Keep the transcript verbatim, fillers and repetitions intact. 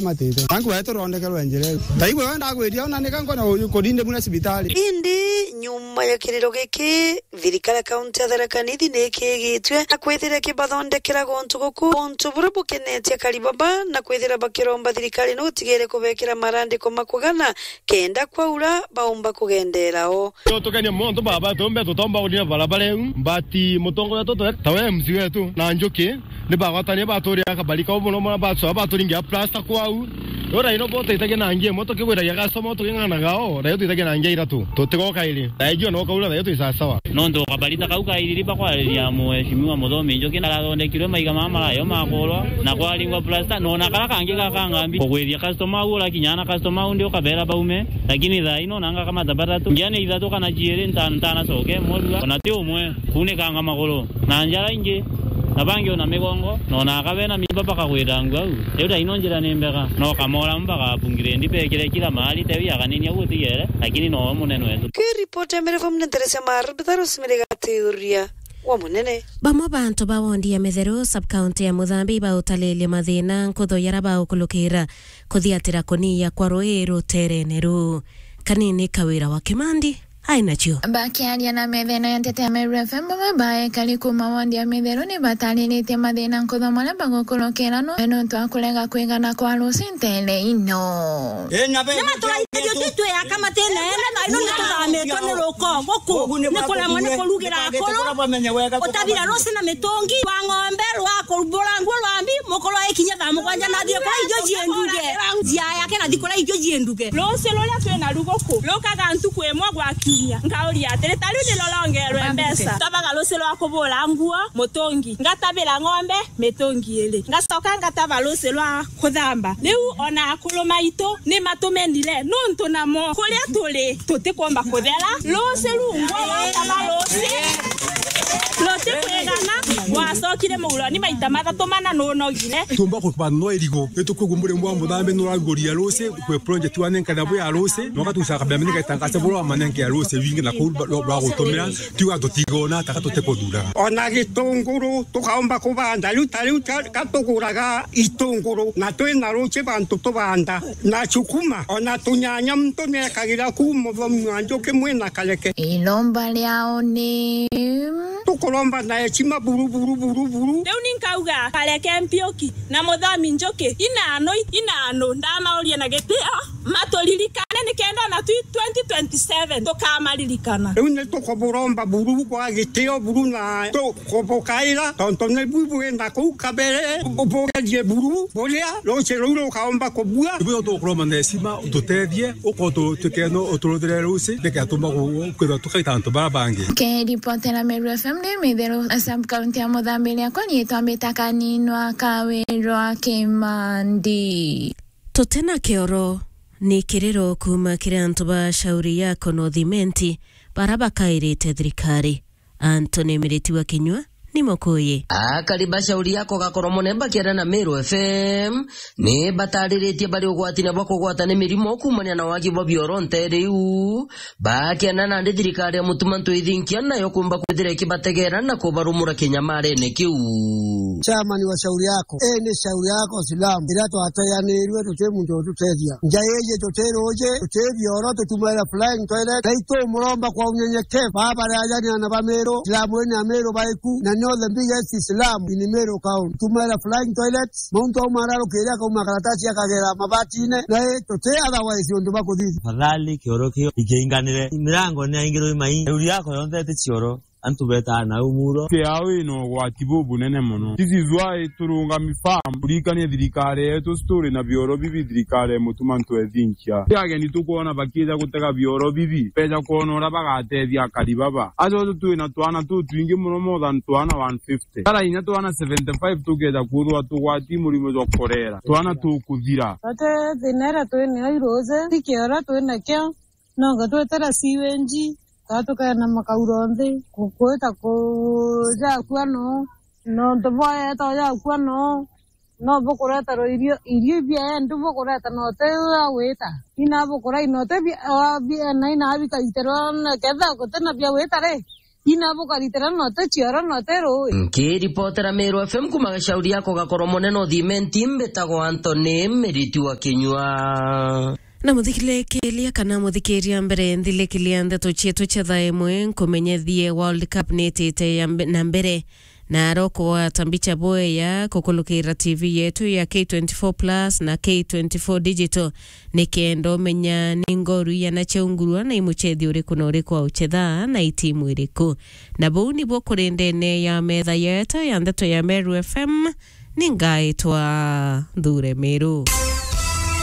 Matite. Nanku wetu rondekerwe njira iu. Taigwe wenda gwithia ona nika nkona uyu kurinde muna cibitari. Indi nyuma ya kiriro giki, thirikari ya kaunti ya Tharaka Nithi ni ikigitwe na kwithira ikibathondekera guntu guku, guntu buria bukenetie akari baba, na kwithira bakiromba thirikari ni utigire kubekira marandiko ma kugana kenda kwaura baumba kugendera o. Tukenie muntu baba tumbe tutomba urina barabara iu, but mutongoria wetu tawe M C wetu na Njuki ni bagwatania baturira kabari kau muno muno, bacoa baturingia plasta kwau. Ura ino bo tuitagia na ngia imwe tukigwiragia customer tuking'anaga o, na yo tuitagia na ngia iratu. Tutigoka iri. Na ijua no kaura na yo twi sawa sawa. Nontu kabari ta kau kairiri bakwariria Mheshimiwa Muthomi Njuki narathondekirwe maiga mama marayo makurwa na kwaringwa plasta, nona kara kangi gakangambi kugwithia customer au urakinya na customer au ndi ukabera baume, lakini thaa ino nanga kama tabatatu. Ngiane ithatu kana ciiri nta-, ntanacoke mwarua. Ona ti umwe kuunikanga maguru na njara ingi, na bangi ona migongo, na ona aka bena mimba bakagwira nguo au. Riu thaa ino njira ni mbega, no kamora mbagabungire ndi bekire kila mahali tewi aganinia gutigere, lakini no munene wetu. Kiripoti ya Meru F M ni nteresia Marubitha Rosemary Gatiuria wa munene. Bamwe bantu ba wondi ya Mitheru, sub-county ya Muthambi, bautalilia mathina nkutho yara baukulukira kuthiatira kuniya kwa rui ruterene ruu. Kanini Kawira wa Kimandi ainacio. Bakiaria na methene ya nteto ya Meru F M, bamwe baekari kuma wondi ya Mitheru ni batariritie mathina nkutho maria bagukurukira no nontu wa kurega kwigana kwa ruci ntere ino. Ni maturaithirio tu twiyaka matine ene, na ino ni tuthamitwe ni ruko guku, ni kuremwa ni kurugira akuru, utabira ruci na mitungi, rwa ng'ombe, rwa kurumbura nguo, rwa mbi, mukuru aikinya thaa mugwanja na athie kuria irio cienduge. Njia yake na thikura irio cienduge. Ruci ruria twina ruguku rukaga ntuku imwe gwa kiumia. Nkauria atiri, ta riu ni rurongerwe mbeca. Tabaga ruci rwa kubura nguo, mutungi. Ngatabira ng'ombe, mitungi iri. Ngacoka ngataba ruci rwa kuthamba. Riu ona akuru maitu ni matumenire, nontu namo kuria turi tutikwomba kuthera. Ruci rungwa wataba ruci rutikwigana, wacokire muguroni maita mathatu mana nunogire. Tumba kubanwa irigo, ni tukwigua murimo wa muthambi nuraguria ruci, kwi project wa nenka na bwi ya ruci, no gatuca kabembe ni gaitangase buru wa manenke ya ruci wingi na kuu rwa gutumira. Tiuga tutigona taka tutikuthuraga. Ona gitunguru tukaomba kubanda, riu ta riu ka-, ka tuguraga itunguru, na twina ruci bantu tubanda, na cukuma, ona tunyanya muntu niekagira kuu muthomi wa njuki mwina kareke. Iromba riao ni tukuromba na heshima buru, buru, buru, buru. Riu ni nkauga kareke Mpiuki na muthomi njuki, inanu, inanu, ndamauria na gitio. Maturirikane nikenda ona twi twenty twenty-seven tukamaririkana. Riu ni tukuburomba buru bwa gitio buru na tukubukaira, tontu ni bu bwina kuu kabere, bu-, bugerie buru buria ruci ruu rukaomba kubua. Ibu tukuromba na heshima ututethie, uko tu-, tukeno uturuthire ruci, nikenda tumba ku-, kwithirwa tukaita antu bara bangi. Kiripotera Meru F M ni Mitheru, sub county ya Muthambi, riakwa riitwa Mbita Kaninwa Kawirwa Kimandi. Tutena kioro ni kiriro kuuma kiri antu ba Shauri Yako North Imenti bara bakairite thirikari. Anthony Miriti wa Kinyua ni Mukuyi. Akari ba Shauri Yako Gakoro Mune bakiaria na Meru F M ni batariritie bari ugwatine bwa kugwata ni mirimo kuumania na wagi bwa bioro ntere iu. Bakiana nandi thirikari ya Mutuma Ntwithinkia nayo kumba kwithira ikibategera na kubarumura kinyamarene kiu. Chairman wa Shauri Yako, eh, ni Shauri Yako Silamu, iria twateanirwe tuti muntu ututethia. Nja iji tuti ruji, tuti bioro, tutumaira flying toilet, na itumuromba kwa unyenyekevu. Baba ri ajani ana ba Meru, Silamu ni Ameru baiku, na ni the biggest Islam in Meru County. Tumaira flying toilet, Mauntu au mararukire akauma karatasi akagera mabatine, na i tuti otherwise undu bakuthithia. Tafadhali kioro kio ikiinganire. Mirango ni aingirwe mai. Shauri Yako yonthe iti cioro. Antu betaa nau muro. Kiao ina ugwati bubunene mono. This is why turungami firm kurikania thirikari yetu turi na bioro bibi, thirikari ya Mutuma Ntwethinkia. Ti ageni tukwona bakija gutega bioro bibi, beja kwona uria bagatethia akari baba. Aja uju twina twana tutwingi mono, more than twana one fifty. Tara inya twana seventy-five tukeja kwithirwa tugwati murimo jwa korera, twana tukuthira. Ate thina iria twi nayo iruji, ti kioro twi nakio, nonga twetera sewage, kaa tukeena makauro nthi, ku-, kwita kujakua no, nontu bwaeta ujakua no, no bukureterwa irio, irio ibiaendi bukureta note wa gwita. Ina bukura inote bia, wa bia, na ina bikaiterwa na ketha gutina bia gwita ri, Ina bukaritira note cioro note rui. Nkiripotera Meru F M kuma Gacauri yako gakorwo munene uthimenti, mbitagwo Anthony Miriti wa Kinyua. Na muthikirikiria kana muthikiria, mbere nthilekeria ndeto cietu cia thaa imwe, nkumenyethie World Cup nitite ya mbe-, na mbere. Na arokugwata mbicha bweya kukulukira T V yetu ya K twenty-four plus na K twenty-four Digital, nikenda umenya ni ngoru igana ciaungurwa na i mucethi uriku na uriku auchetha na i timu iriku. Na buu nibuo kuri ndene ya metha yetu ya ndeto ya Meru F M, ni ngaitwa Nthure Meru.